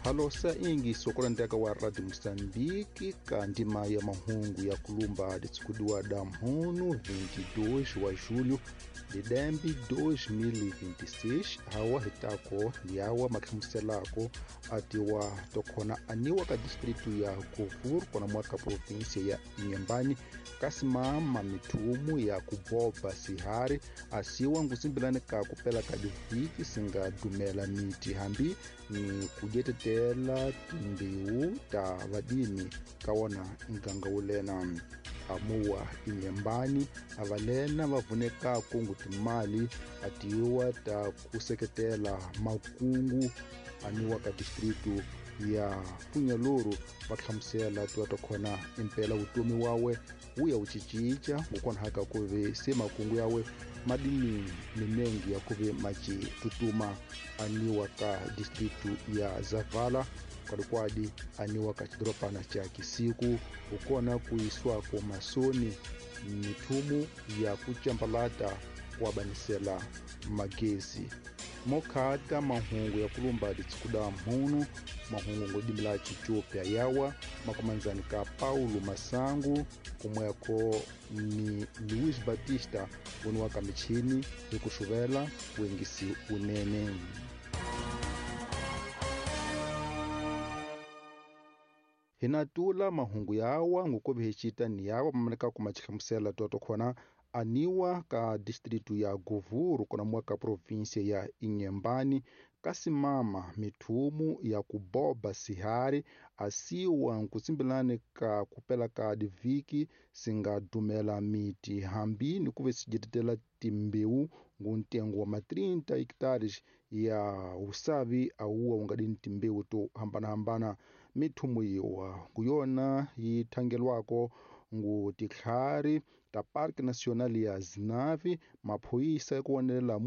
Halosa ingi sokolanteka wa Radio Moçambique ka ndima ya mahungu ya kulumba litsikudiwa da mhunu 22 wa julho lidembe 2026 hawa hitako liawa makhimuselako atiwa tokhona aniwa ka distritu ya Govur kona mwaka provinsia ya Inhambane kasimama mithumu ya kuboba sihari asiwa ngusimbilani ka kupela ka diviki singadumela miti hambi ni kujetetela timbewu ta vadimi ka wona nganga wulena amuwa Inhambane avalena va vunekako ngu timali atiwa ta kuseketela makungu aniwa ka distritu ya Funyaluru va hlamusela tiwa ta khona impela vutomi wawe wu ya wu cicinca ngokonhaka ku ve se makungu yawe madini minengi ya ku ve maci tutuma aniwa ka distritu ya Zavala kwalikwadi aniwa ka xidoropana xa Kisiku ukona ku yisiwako masoni mithumu ya ku cambalata ku abanisela magezi mokhata mahungu ya kulumba litsikuda mhunu mahungu ngodimila Etiópia yawa makumanzani ka Paulo Masangu kumweko ni Luis Batista voniwa ka michini hi ku xuvela wengisi wunene. Hi na tula mahungu yawa ngukovi hi cita ni yawa mamaneka kuma xihlamusela toto khona aniwa ka distritu ya Govuru kona mwa ka provinsia ya Inhambane kasimama mithumu ya kuboba sihari asiwa nkusimbilani ka kupela ka diviki singadumela miti hambi ni kuve sijetetela timbewu ngu ntengo wa ma 30 hectares ya usavi awuwa ungadini timbewu to hambanahambana. Mithumu yiwa nguyona yi thangelwako ngu titlhari ta Parque Nacional ya Zinave maphoyisa ya ku wonelela.